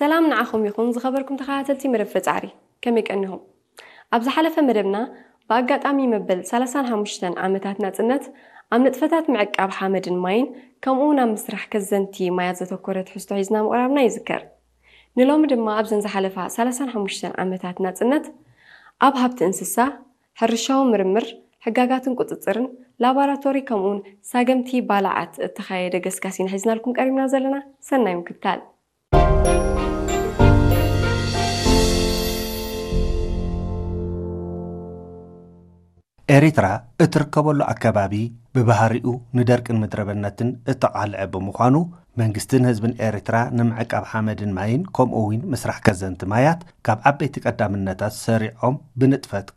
ሰላም ንዓኹም ይኹን ዝኸበርኩም ተኸታተልቲ መደብ ፈጻሪ፣ ከመይ ቀኒኹም? ኣብ ዝሓለፈ መደብና ብኣጋጣሚ መበል ሰላሳን ሓሙሽተን ዓመታት ናጽነት ኣብ ንጥፈታት ምዕቃብ ሓመድን ማይን ከምኡ እውን ኣብ ምስራሕ ከዘንቲ ማያት ዘተኮረ ትሕዝቶ ሒዝና ምቕራብና ይዝከር። ንሎሚ ድማ ኣብዘን ዝሓለፋ ሰላሳን ሓሙሽተን ዓመታት ናጽነት ኣብ ሃብቲ እንስሳ፣ ሕርሻዊ ምርምር፣ ሕጋጋትን ቁጽጽርን፣ ላቦራቶሪ ከምኡውን ሳገምቲ ባላዓት እተኻየደ ገስጋስ ኢና ሒዝናልኩም ቀሪብና ዘለና። ሰናይ ምክትታል። ኤሪትራ እትርከበሉ ኣከባቢ ብባህሪኡ ንደርቅን ምድረበነትን እተቓልዐ ብምዃኑ መንግስትን ህዝብን ኤሪትራ ንምዕቃብ ሓመድን ማይን ከምኡ እውን ምስራሕ ከዘንቲ ማያት ካብ ዓበይቲ ቀዳምነታት ሰሪዖም ብንጥፈት